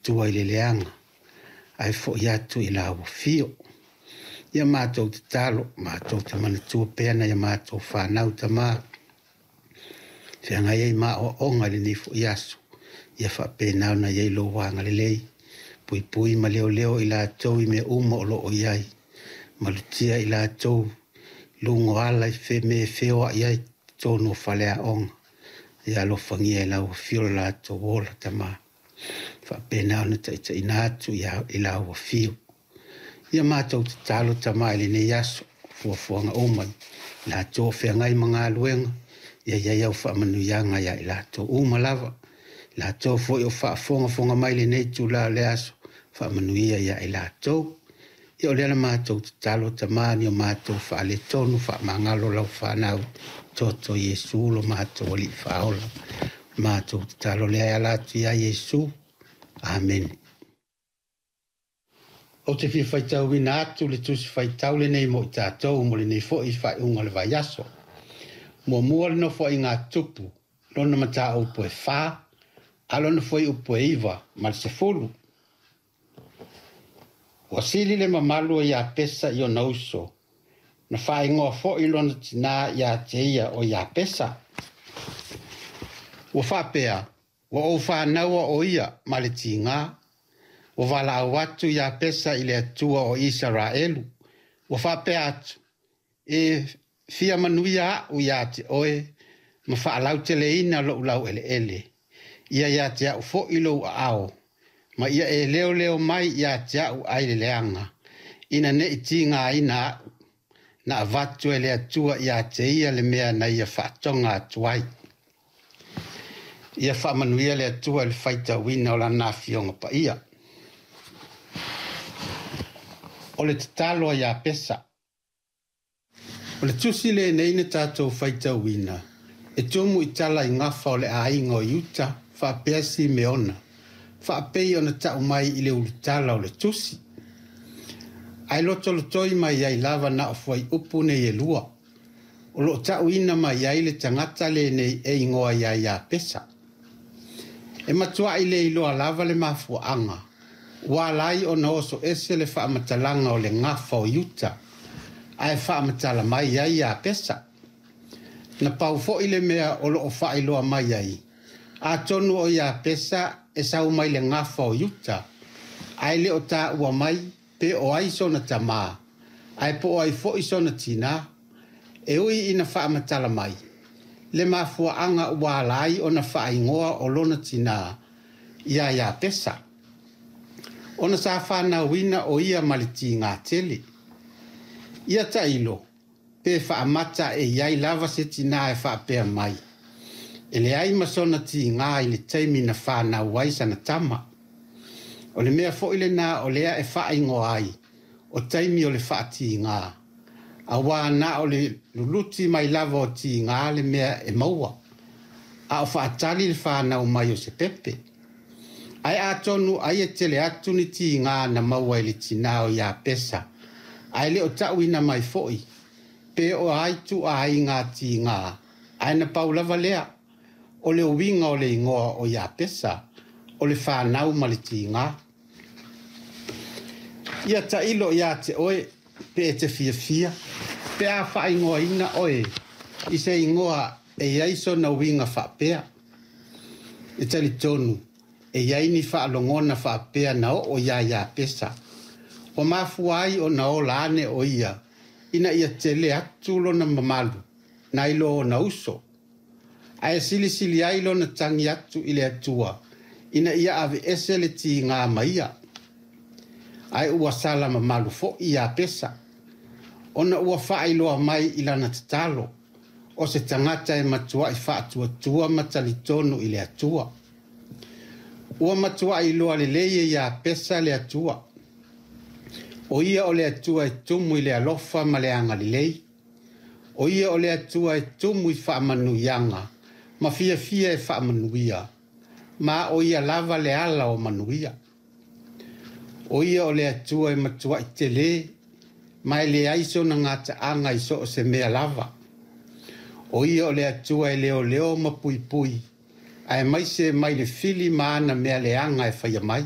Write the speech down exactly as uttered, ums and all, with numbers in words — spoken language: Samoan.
Atua i le leaga, ae fo'i atu i lau afio. Ia matou tatalo, matou te manatua pea nai a matou fanau Tama, feagai ai ma aoaoga i lenei foi aso, ia faapena ona i ai lou agalelei, puipui ma leoleo i latou i mea uma o lo o i ai, malutia i latou i luga o ala i fe mea e feoai ai i totonu o faleaoga. Ia alofagia e lau afio lo latou ola Tama, faapena ona taitaiina atu i lau afio. Ia matou tatalo Tama i lenei aso, fuafuaga uma i latou o feagai ma galuega, ia i ai au faamanuiaga ia i latou uma lava. I latou foi o faafogafoga mai i lenei itula o le aso, faamanuia ia i latou. Ia o lea la matou tatalo Tama, ni o matou faaletonu, faamagalo lau fanau, toto Iesu lo matou Alii Faaola. Matou tatalo lea e ala atu ia Iesu. Amene. Ou te fia faitauina atu le tusi faitau lenei mo i tatou mo lenei foi faaiuga o le vaiaso. Muamua le nofoaiga a Tupu, lona mataupu e fa, a lona fuaiupu e iva ma le sefulu. Ua sili le mamalu o Iapesa i ona uso, na faaigoa foi lona tinā ia te ia o Iapesa. Ua faapea, ua ou fanaua o ia ma le tiga, ua valaau atu Iapesa i le Atua o Isaraelu. Ua faapea atu, e fia manuia a'u ia te oe ma faalauteleina lou laueleele. Ia ia te a'u foi lou aao, ma ia e leoleo mai ia te a'u ai le leaga, ina ne i tigaina a'u. Na avatu e le Atua ia te ia le mea na ia faatoga atu ai. Ia faamanuia le Atua i le faitauina o lana afioga paia. O le tatalo a Iapesa. O le tusi lenei na tatou faitauina, e tumu i tala i gafa o le aiga o Iuta faapea Simeona, faapei ona ta'u mai i le ulutala o le tusi. Ae lotolotoi mai ai lava na o fuaiupu nei e lua, o lo o ta'uina mai ai le tagata lenei e igoa ia Iapesa. E matua'i le iloa lava le mafuaaga, ua ala ai ona oso ese le faamatalaga o le gafa o Iuta, ae faamatala mai ai Iapesa. Na pau foi le mea o lo o faailoa mai ai, atonu o Iapesa e sau mai le gafa o Iuta, ae le o taua mai pe o ai sona tamā, ae po o ai foi sona tinā. E ui ina faamatala mai le mafuaaga ua ala ai ona faaigoa o lona tinā ia Iapesa, ona sa fanauina o ia ma le tigā tele. Ia tailo, pe faamata e i ai lava se tinā e faapea mai, e leai ma sona tigā i le taimi na fanau ai sana tama. O le mea foi lena o lea e faaigoa ai o taimi o le faatigā, auā na o le luluti mai lava o tigā le mea e maua, a o faatali le fanau mai o se pepe. Ae atonu ai e tele atu ni tigā na maua i le tinā o Iapesa, ae le o ta'uina mai foi, pe o ai tuuaiga tigā, ae na pau lava lea, o le uiga o le igoa o Iapesa, o le fanau ma le tigā. Ia tailo ia te oe, pe e te fiafia, pe a faaigoaina oe, i se igoa e i ai sona uiga faapea. E talitonu, e i ai ni faalogona faapea na oo ia Iapesa. Ua mafua ai ona ola ane o ia, ina ia tele atu lona mamalu, nai lo ona uso. Ae silisili ai lona tagi atu i le Atua, ina ia aveese le tigā ma ia. Ae ua sala mamalu foi Iapesa, ona ua faailoa mai i lana tatalo, o se tagata e matuai faatuatua ma talitonu i le Atua. Ua matuai iloa lelei e Iapesa le Atua. O ia o le Atua e tumu i le alofa ma le agalelei. O ia o le Atua e tumu i faamanuiaga ma fiafia e faamanuia, ma o ia lava le ala o manuia. O ia o le Atua e matuai tele, ma e leai sona gataaga i so o se mea lava. O ia o le Atua e leoleo ma puipui, aemaise mai le fili ma ana mea leaga e faia mai.